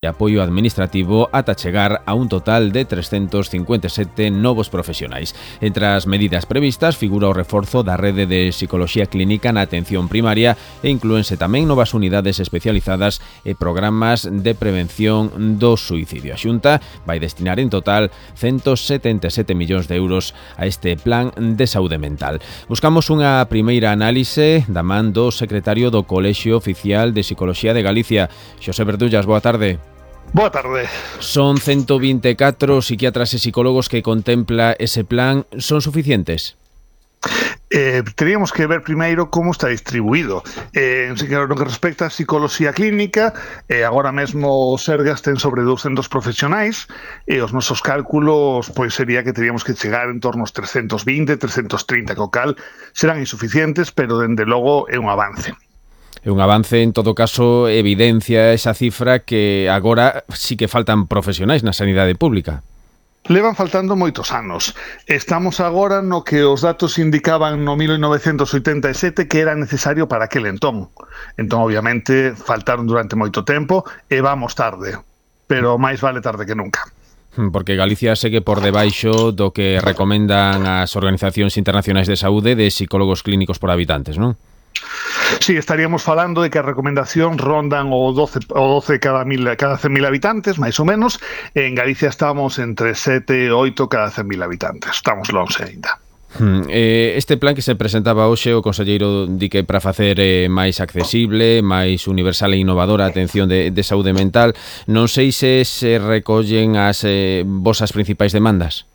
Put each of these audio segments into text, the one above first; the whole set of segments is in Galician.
e apoio administrativo ata chegar a un total de 357 novos profesionais. Entre as medidas previstas figura o reforzo da rede de psicoloxía clínica na atención primaria e inclúense tamén novas unidades especializadas e programas de prevención do suicidio. A Xunta vai destinar en total 177 millóns de euros a este plan de saúde mental. Buscamos unha primeira análise da man do secretario do Colexio Oficial de Psicoloxía de Galicia. Xosé Verdullas, boa tarde. Boa tarde. Son 124 psiquiatras e psicólogos que contempla ese plan. Son suficientes? Teríamos que ver primeiro como está distribuído. No que respecta a psicoloxía clínica, agora mesmo o Sergas ten sobre 200 profesionais e os nosos cálculos pois sería que teríamos que chegar en torno aos 320, 330, co cal serán insuficientes, pero dende logo é un avance. É un avance, en todo caso, evidencia esa cifra que agora sí que faltan profesionais na sanidade pública. Levan faltando moitos anos. Estamos agora no que os datos indicaban no 1987 que era necesario para aquel entón. Entón, obviamente, faltaron durante moito tempo e vamos tarde. Pero máis vale tarde que nunca. Porque Galicia segue por debaixo do que recomendan as organizacións internacionais de saúde de psicólogos clínicos por habitantes, non? Sí, estaríamos falando de que as recomendacións rondan o 12 cada 100.000 habitantes, máis ou menos. En Galicia estamos entre 7 e 8 cada 100.000 habitantes. Estamos longe aínda. Este plan que se presentaba hoxe, o conselleiro di que para facer máis accesible, máis universal e innovadora a atención de saúde mental, non sei se recollen as vosas principais demandas.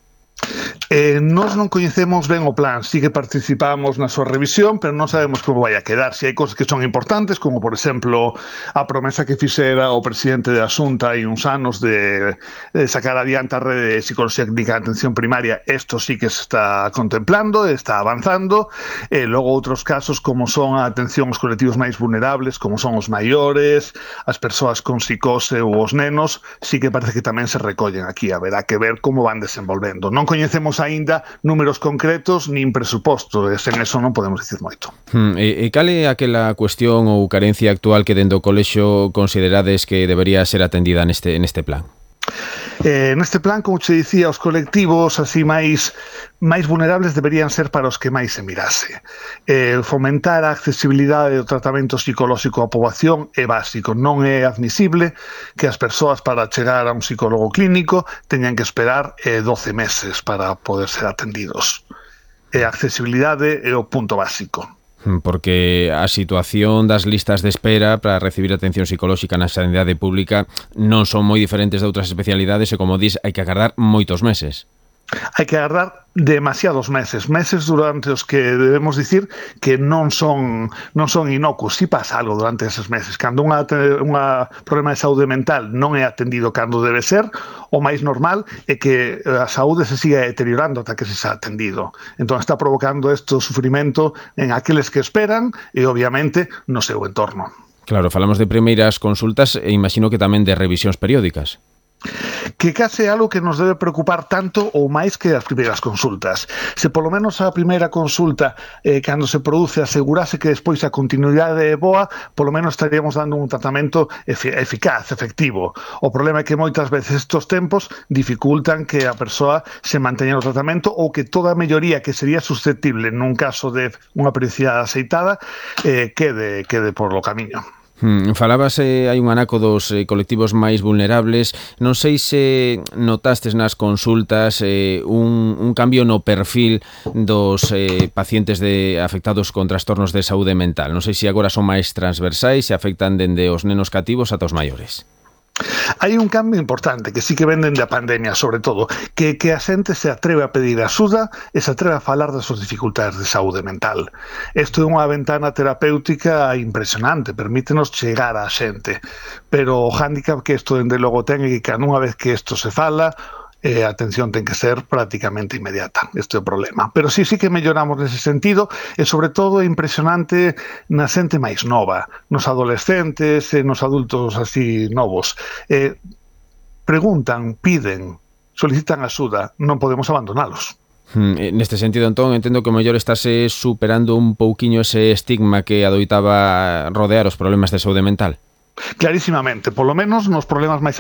Nós non coñecemos ben o plan, sí que participamos na súa revisión, pero non sabemos como vai a quedar. Si hai cosas que son importantes, como por exemplo a promesa que fixera o presidente da Xunta hai uns anos de sacar adiante a rede de psicología clínica de atención primaria, isto sí que se está contemplando, está avanzando. Logo outros casos como son a atención aos colectivos máis vulnerables, como son os maiores, as persoas con psicose ou os nenos, sí que parece que tamén se recollen aquí. Haberá que ver como van desenvolvendo. Non coñecemos aínda números concretos nin presuposto, e sen eso non podemos dicir moito. E cal é aquela cuestión ou carencia actual que dentro do colexio considerades que debería ser atendida neste plan? Neste plan, como che dicía, os colectivos así máis vulnerables deberían ser para os que máis se mirase. Fomentar a accesibilidade do tratamento psicolóxico á poboación é básico. Non é admisible que as persoas para chegar a un psicólogo clínico teñan que esperar 12 meses para poder ser atendidos. A accesibilidade é o punto básico. Porque a situación das listas de espera para recibir atención psicolóxica na sanidade pública non son moi diferentes de outras especialidades e, como dis, hai que agardar moitos meses. Hai que agardar demasiados meses durante os que debemos dicir que non son inocuos. Si pasa algo durante eses meses. Cando un problema de saúde mental non é atendido cando debe ser, o máis normal é que a saúde se siga deteriorando ata que se xa atendido. Entón está provocando este sufrimento en aqueles que esperan e, obviamente, no seu entorno. Claro, falamos de primeiras consultas e imagino que tamén de revisións periódicas. Que case é algo que nos debe preocupar tanto ou máis que as primeiras consultas. Se polo menos a primeira consulta cando se produce asegurase que despois a continuidade é boa, polo menos estaríamos dando un tratamento eficaz, efectivo. O problema é que moitas veces estos tempos dificultan que a persoa se manteña no tratamento ou que toda a melloría que sería susceptible nun caso de unha periodicidade aceitada quede por lo camiño. Falabas hai un anaco dos colectivos máis vulnerables. Non sei se notastes nas consultas un cambio no perfil dos pacientes afectados con trastornos de saúde mental. Non sei se agora son máis transversais e afectan dende os nenos cativos ata os maiores. Hai un cambio importante que sí que venden da pandemia, sobre todo, que a xente se atreve a pedir axuda e se atreve a falar das súas dificultades de saúde mental. Isto é unha ventana terapéutica impresionante, permítenos chegar á xente, pero o hándicap que isto dende logo ten é que cada unha vez que isto se fala, a atención ten que ser prácticamente inmediata. Este é o problema. Pero sí que melloramos nese sentido e, sobre todo, é impresionante na xente máis nova, nos adolescentes e nos adultos así novos. Preguntan, piden, solicitan axuda, non podemos abandonalos. Neste sentido, entón, entendo que o mellor estase superando un pouquiño ese estigma que adoitaba rodear os problemas de saúde mental. Clarísimamente, polo menos nos problemas máis